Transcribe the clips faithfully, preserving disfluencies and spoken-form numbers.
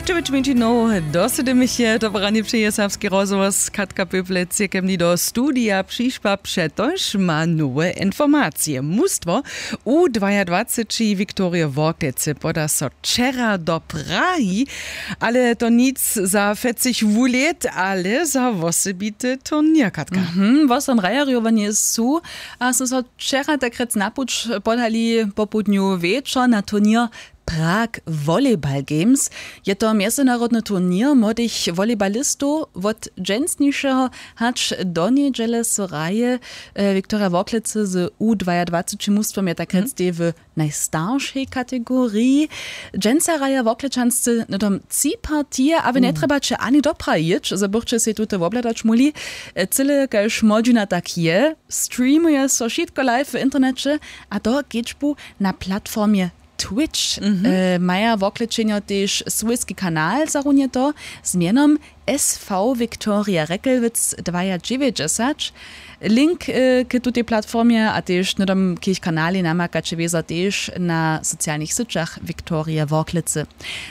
Čewić minutinow do sydymiche to porani přeje serbski rozhłos. Katka Pěplec je ke mni do studija přišła, přetož ma nowe informacije. Mustwo u dwajadwaceći Viktorije Worklece poda so wčera do Prahi, ale to nic za fecich wulet, ale za wosebity turněr, Katka. Mhm, wosom rajarjowanje su a su so wčera takrjec na puć podali popołdnju wječor na turněr Prag Volleyball Games. Je to mjezynarodny turněr młodych volleybalistow. Wot dźensnišeho hač do njedźele so hraje. Viktorija Worklecy z u dwajadwaceći mustwom je takrjec tej w najstaršej kategoriji. Dźensa hraja Worklečanscy hnydom tři partije a wy njetrjebaće ani do Praha jěć, zo bychće sej tute wobhladać móhli. Cyle kaž młodźina tak je, streamuje so wšitko live w interneće, a to kedźbu na platformje Twitch. Maja Worklečenjo tež swójski kanal zarunjeto z mjenom S V Viktorija Rekelwitz dwajadźewjećdźesać. Link k tutej platformje a tež hnydom k jich kanalej namakaće wězo tež na socialnych syćach Viktorije Worklecy.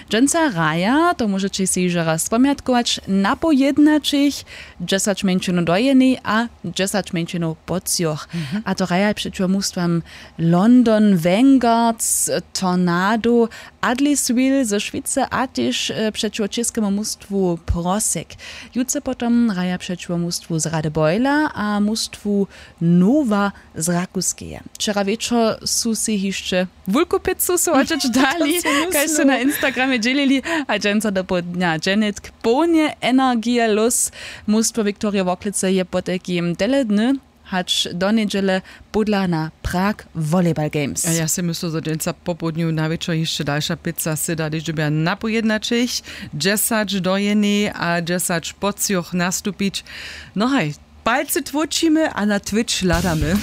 Dźensa hraja, to móžeće sej hižo raz spomjatkować, napoł jědnaćich, dźesać mjeńšinow do jenej a dźesać mjeńšinow po třoch. A to hraja přećiwo mustwam London Vanguards, Tornado, Adliswil ze Šwicy a tež přećiwo čěskemu mustwu Prosek. Jutře potom hraja přećiwo mustwu z Radebojla a mustwu Nowa z Rakuskeje. Wčera wječor su sej hišće wulku pizzu sowaćeć dali, kaž su na Instagramje dźělili. A dźensa dopołdnja dźenitk połnje energije lós. Mustwo Viktorije Worklecy je potajkim tele dny hač do njedźele pódla na Prag Volleyball Games. A ja sej myslu, zo dźensa popołdnju na wječor hišće dalša pizza syda, hdyž dyrbja napoł jědnaćich, dźesać do jenej a dźesać po třoch nastupić. No haj, palcy tłóčimy a na Twitch hladamy.